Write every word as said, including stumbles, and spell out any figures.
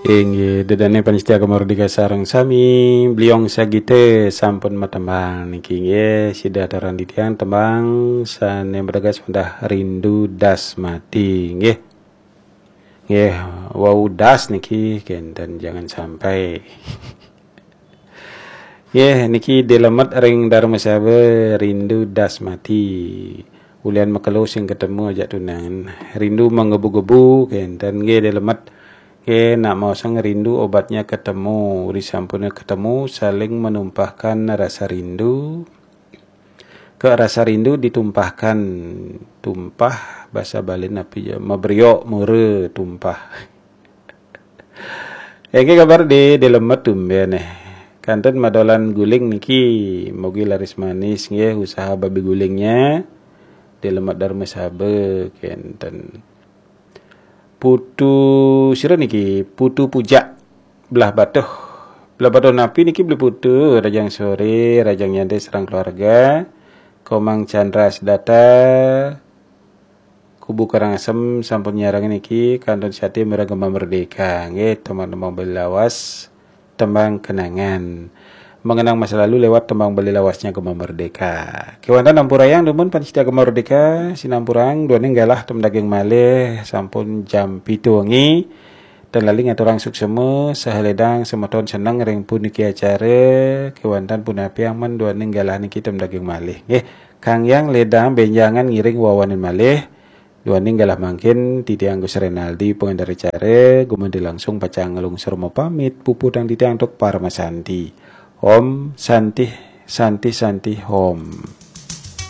Inggih, ida dané pamiarsa Gema Merdeka sareng sami, Bliong Sagita sampun matembang niki, nggih, sida aturang titiang tembang sané mateges wantah Rindu Das Mati, nggih. Nggih, wau das niki kénten, jangan sampai. Nggih, niki dilemet ring Darmasaba, Rindu Das Mati. Ulian makelo sing ketemu ajak tunangan. Rindu menggebu-gebu kénten, nggih, dilemet. Nggih, nak maosang rindu obatnya ketemu. Disampun ketemu, saling menumpahkan rasa rindu. Ke rasa rindu ditumpahkan. Tumpah, basa Bali napi ya? Mabriok, mura, tumpah. Inggih, kabar di, dilemet tumbén, eh. Kantun madolan guling niki, mugi laris manis, nggih, usaha babi gulingnya. Dilemet Darmasaba, kénten. Putu sira niki, Putu Pujak, Blahbatuh. Blahbatuh napi niki, Bli Putu? Rahajeng soré, rahajeng nyantai sareng keluarga. Komang Chandra Sedata, Kubu Karangasem sampun nyarengin niki, kantun sati mireng Gema Merdeka. Nggih, tembang-tembang Bali lawas, tembang kenangan. Mengenang masa lalu lewat tembang Bali lawasnya Gema Merdeka. Kéwanten ampurayang dumun pamiarsa Gema Merdeka, sinampurang duaning galah ten daging malih, sampun jam pitu wengi. Ten lali ngaturang suksma saha ledang semeton seneng ring puniki acara, kéwanten punapiang men duaning galah niki ten daging malih. Nggih, Kang Hyang ledang bénjangan ngiring wawanin malih. Duaning galah mangkin, titiang Gus Renaldi, pangénter acara, gumanti langsung pacang nglungsur mapamit, puputang titiang antuk paramasanti. Om Santih, Santih, Santih, Om.